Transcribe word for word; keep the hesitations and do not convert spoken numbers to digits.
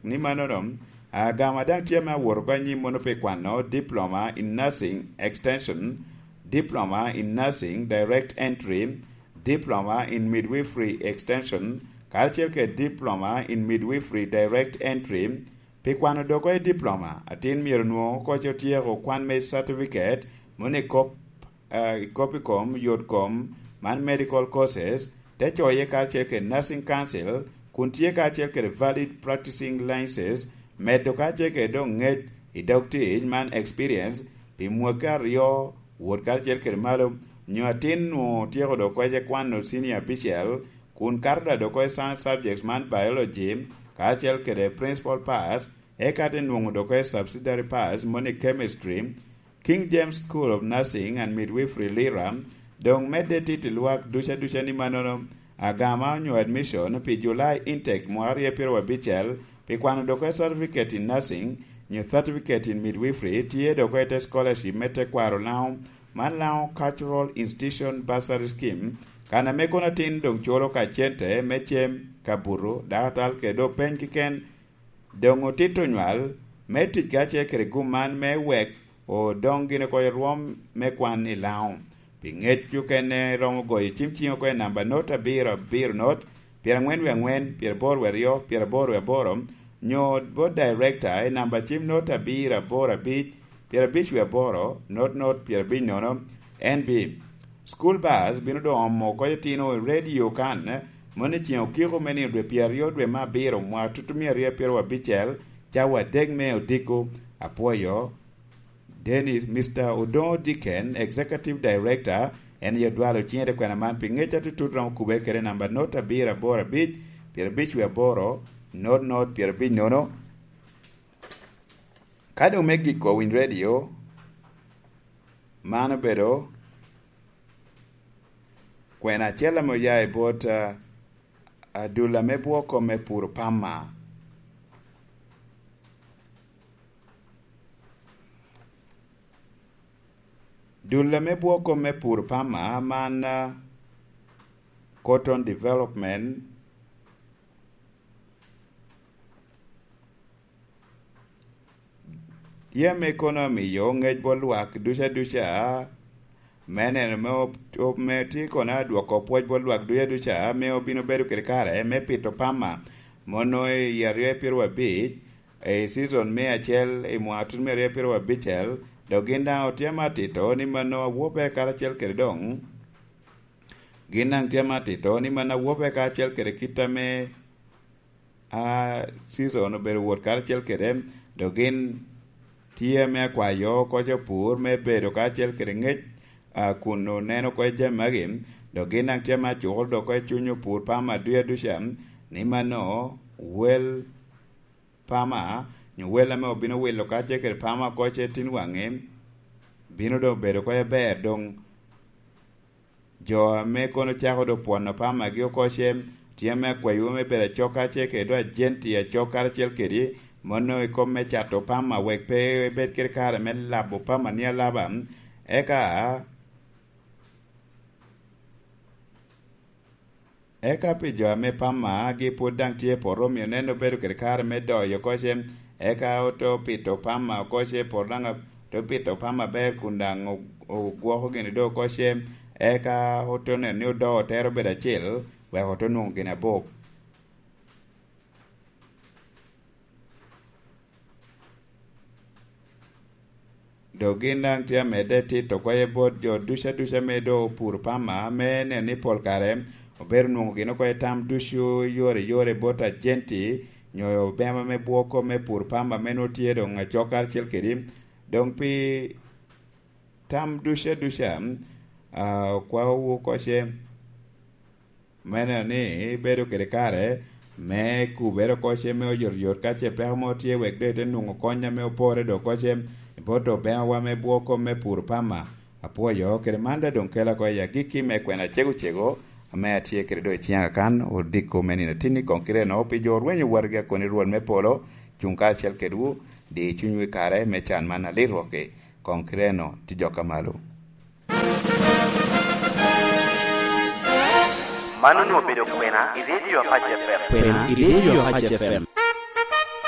Ni mannono, agama daŋ tye ame awot oko anyim mono pi kwano Diploma in Nursing Extension, Diploma in Nursing Direct Entry, Diploma in Midwifery Extension, karacel kede Diploma in Midwifery Direct Entry. Pi kwano doko i diploma, atin myero onwoŋo koc otyeko kwan me certificate mono i kop, eh, i kop i kom yot kom, man medical courses, te coye karacel kede Nursing Council, kun tye karacel kede valid practicing licenses, medo karacel kede doŋ ŋec i dog tic, man experience, pi mwaki aryo wot karacel kede malo, nyo atin nwoŋo otyeko dok koc kwano senior abicel, kun kato da dok koc science subjects man biology, karacel kede principal pass, eka te nwoŋo dok koc subsidiary pass, moni chemistry, King James School of Nursing and Midwifery Lira, doŋ medde titi lwak duca duca ni mannono, agama onyo admission pi July intake mwaka aryo pyeraryo abicel, pi kwano dok koc certificate in nursing, nyo certificate in midwifery, tye dok koc te scholarship me tekwaro Laŋo, man Laŋo Cultural Institution Bursary Scheme, kan ame kono atin doŋ culo ka cente me cem, ka buto, dakatal kede doŋ peny keken, doŋ otito nywal me tic karacel kede gum man me wek odoŋ gin oko i rwom me kwan i Laŋo. Pi ŋec okene romo goyo cim ciŋ oko i namba not abiro abiro not, pyeraŋwen wie aŋwen, pyeraboro wie aryo, pyeraboro wie aboro, nyo bot director i namba cim not abiro aboro abic, pyerabic wie aboro, not not pyerabic nono, N B. School bus bino doŋ omo oko itino i radio kan, moni ceŋ okiko me nino dwe pyeraryo dwe me abiro mwaka tutumia aryo pyeraryo abicel, cawa adek me odiko. Apwoyo Dennis, Mister Odoŋo Dicken, Executive Director, en aye odwalo ciŋe te kwena man pi ŋec atutut romo kubbe kede namba not abiro aboro abic, pyerabic wie aboro, not not pyerabic nono. Ka doŋ me giko winy radio, man obedo kwena acel ame oya i bot, ah, adula me bwoko me puro pama. Dul ame bwoko me pur pama man, ah, cotton development, tye ame kono amiyo ŋec bot lwak duca duca, me neno me op-, op-, me tye kono adwoko pwoc bot lwak duca duca, ame obino bedo kede kare me pito pama, mono i aryo pyeraryo abic, i season me acel i mwaka tut me aryo pyeraryo abicel, dok gin daŋ otye ame atito ni mano awobbe karacel kede doŋ. Gin daŋ tye ame atito ni mano awobbe karacel kede kit ame, a, season obedo wot karacel kede, dok gin tye ame akwayo koc opur me bedo karacel kede ŋec, a, kun oneno koc jami magi, dok gin daŋ tye ame acuko dok koc cuny opur pama duca duca, ni mano wel pama, nyo wel ame obino wilo kacel kede pama oko ce tin waŋe, bino doŋ bedo oko aber doŋ. Jo ame kono cako doŋ pwono pamagi oko ce, tye ame akwayo me bedo acok kacel kede doŋ ajenti acok karacel kedi, mono i kom me cato pama wek pe ebed kede kare me labo pama ni alaba. Eka Eka pi jo ame pamagi pwod daŋ tye i poto, omio nen obedo kede kare me doyo oko ce, eka ote pito pama oko ce, poto daŋ ote pito pama aber kun daŋ o-, ogwoko gini doŋ oko ce, eka ote neno ni odoo otere obedo acel, wek ote nwoŋo gin abok. Dok gin daŋ tye amedde tito kwoye bot jo duca duca ame doŋ opuro pama, me neno ni pol kare obedo nwoŋo gin oko i tam ducu yore yore bot ajenti nyo obema me bwoko me pur pama ame nwoŋo tye doŋ acok karacel kedi. Doŋ pi tam duca duca, a, okwaowu oko ce. Me neno ni ibedo kede kare me kubere oko ce me oyotoyot ka ce peko mo tye, wek doŋ ite nwoŋo kony ame opore doŋ oko ce i bot obeŋawa me bwoko me pur pama. Apwoyo kede man daŋ doŋ kela oko i agikki me kwena cego cego ame atye kede doŋ i ciŋa kan odiko me nino tinni koŋ kite-no pi jo orwenyo watgi akoni Rwot me polo cuŋ karacel kedwu, di cunywu i kare me can man alit rwokki. Koŋ kite eno ti jok a malo. Man onwoŋo obedo kwena i Radio Apac F M. Kwena i Radio Apac F M.